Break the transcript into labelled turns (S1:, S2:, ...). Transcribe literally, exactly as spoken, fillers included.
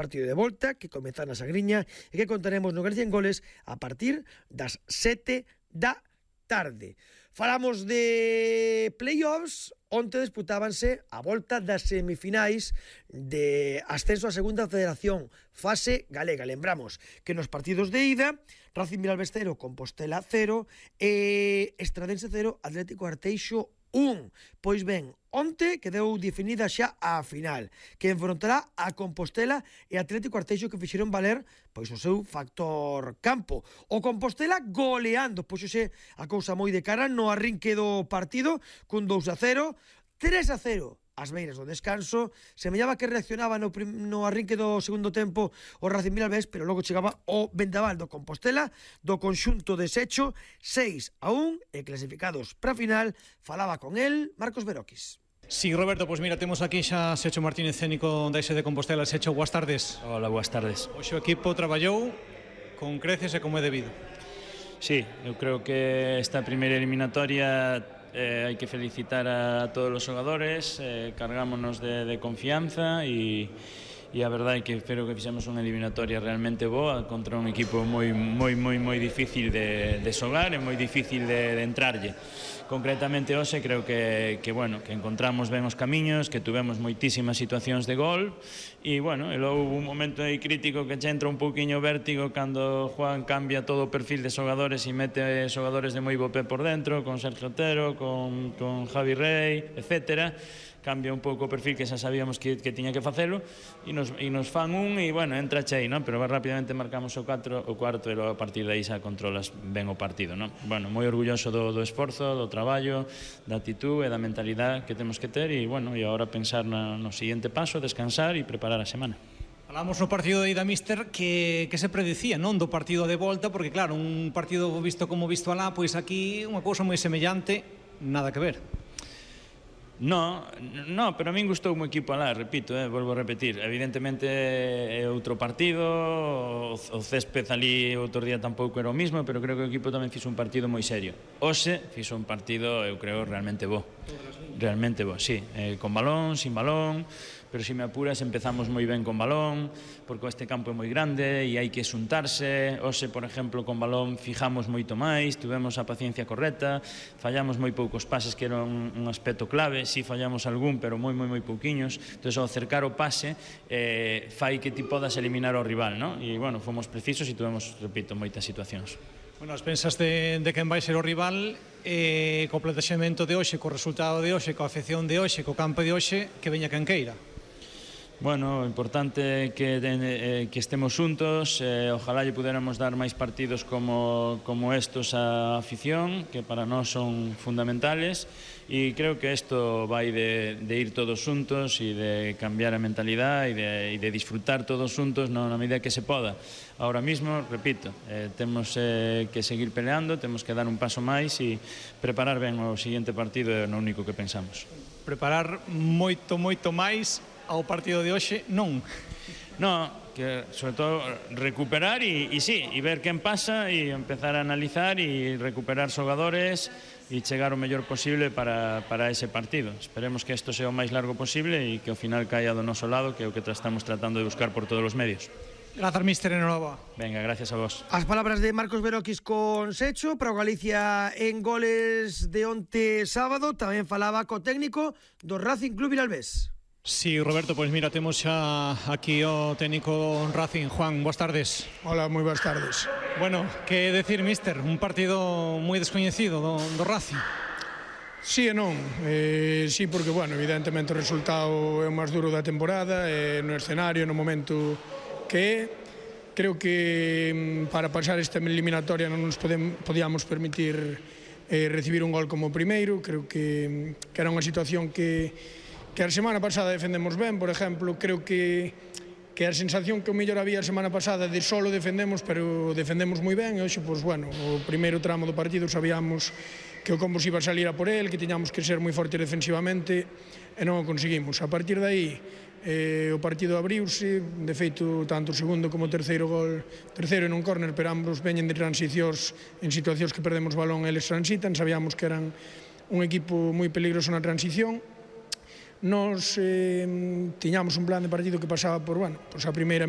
S1: partido de volta que comeza na Sagriña e que contaremos no Galicia en Goles a partir das sete da tarde. Falamos de playoffs. Onte disputábanse a volta das semifinais de ascenso a segunda federación, fase galega. Lembramos que nos partidos de ida, Racing Vilalbés cero, Compostela cero, e Estradense cero, Atlético Arteixo un. Pois ben, onte quedou definida xa a final, que enfrontará a Compostela e Atlético Arteixo, que fixeron valer pois o seu factor campo. O Compostela goleando, pois xe a cousa moi de cara no arrinque do partido, cun dous a cero, tres a cero ás beiras do descanso. Semellaba que reaccionaba no, no arrinque do segundo tempo o Racing Vilalbés, pero logo chegaba o vendaval do Compostela, do conxunto deshecho, seis a un, e clasificados para a final. Falaba con el Marcos Beroquis.
S2: Sí, Roberto, pois mira, temos aquí xa Secho Martínez, cénico da I S de Compostela. Secho, boas tardes.
S3: Hola, boas tardes.
S2: Hoxe o equipo traballou con creces e como é debido.
S3: Sí, eu creo que esta primeira eliminatoria eh, hai que felicitar a todos os xogadores, eh, cargámonos de, de confianza e, e a verdade é que espero que fixemos unha eliminatoria realmente boa contra un equipo moi moi moi moi difícil de, de xogar e moi difícil de, de entrarlle. Concretamente hoxe creo que, que, bueno, que encontramos ben os camiños, que tuvemos moitísimas situacións de gol e, bueno, e logo un momento aí crítico que che entra un pouquiño vértigo cando Juan cambia todo o perfil de xogadores e mete xogadores de moi bo pé por dentro, con Sergio Otero, con, con Javi Rey, etcétera. Cambia un pouco o perfil que xa sabíamos que, que tiña que facelo e nos, e nos fan un e, bueno, entra chei, non? Pero rapidamente marcamos o cuatro, o cuarto e logo a partir de aí xa controlas ben o partido, non? Bueno, moi orgulloso do, do esforzo, do traballo, da actitud e da mentalidade que temos que ter e, bueno, e agora pensar na, no seguinte paso, descansar e preparar a semana.
S2: Falamos no partido de ida, míster, que, que se predicía, non, do partido de volta, porque claro, un partido visto como visto alá, pois aquí unha cousa moi semellante, nada que ver.
S3: No, no, pero a min gustou o equipo alá, repito, eh, volvo a repetir. Evidentemente é outro partido, o, o césped ali outro día tampouco era o mismo, pero creo que o equipo tamén fixo un partido moi serio. Hoxe fixo un partido, eu creo, realmente bo. Realmente bo, sí, eh, con balón, sin balón, pero se me apuras empezamos moi ben con balón, porque este campo é moi grande e hai que xuntarse. Hoxe, por exemplo, con balón fijamos moito máis, tivemos a paciencia correcta, fallamos moi poucos pases que era un, un aspecto clave, si fallamos algún, pero moi moi moi pouquiños. Entón, ao cercar o pase eh, fai que ti podas eliminar ao rival, non? E, bueno, fomos precisos e tivemos, repito, moitas situacións.
S2: Bueno, as pensas de, de quen vai ser o rival, eh, co plantexamento de hoxe, co resultado de hoxe, coa afección de hoxe, co campo de hoxe, que veña quen queira.
S3: Bueno, o importante é que, eh, que estemos xuntos, eh, ojalá lle puderamos dar máis partidos como, como estos á afición, que para nós son fundamentales, e creo que isto vai de, de ir todos xuntos e de cambiar a mentalidade e de, e de disfrutar todos xuntos no, na medida que se poda. Ahora mismo, repito, eh, temos eh, que seguir peleando, temos que dar un paso máis e preparar ben o seguinte partido, é o único que pensamos.
S2: Preparar moito, moito máis ao partido de hoxe, non.
S3: No, que sobre todo recuperar e, e sí, e ver quen pasa e empezar a analizar e recuperar xogadores e chegar o mellor posible para, para ese partido. Esperemos que isto sea o máis largo posible e que ao final caia do noso lado, que é o que estamos tratando de buscar por todos os medios.
S2: Grazas, míster, enhoraboa.
S3: Venga, gracias a vos.
S1: As palabras de Marcos Beroquis con Secho para o Galicia en Goles de onte sábado. Tamén falaba co técnico do Racing Club Vilalbés.
S2: Sí, Roberto, pois mira, temos xa aquí o técnico Racing. Juan, boas tardes.
S4: Hola, moi boas tardes.
S2: Bueno, que decir, míster, un partido moi descoñecido do, do Racing.
S4: Sí e non, eh, sí, porque, bueno, evidentemente o resultado é o máis duro da temporada, eh, no escenario, no momento que é. Creo que para pasar esta eliminatoria non nos podem, podíamos permitir eh, recibir un gol como o primeiro. Creo que, que era unha situación que que a semana pasada defendemos ben, por exemplo. Creo que, que a sensación que o mellor había a semana pasada de solo defendemos, pero defendemos moi ben, e hoxe, pois, bueno, o primeiro tramo do partido sabíamos que o Combos iba a salir a por el, que tiñamos que ser moi fortes defensivamente, e non o conseguimos. A partir de aí, eh, o partido abriuse, de feito, tanto o segundo como o terceiro gol, terceiro en un córner, pero ambos veñen de transicións en situacións que perdemos balón, eles transitan, sabíamos que eran un equipo moi peligroso na transición. Nos eh, tiñamos un plan de partido que pasaba por, bueno, pois a primeira mitad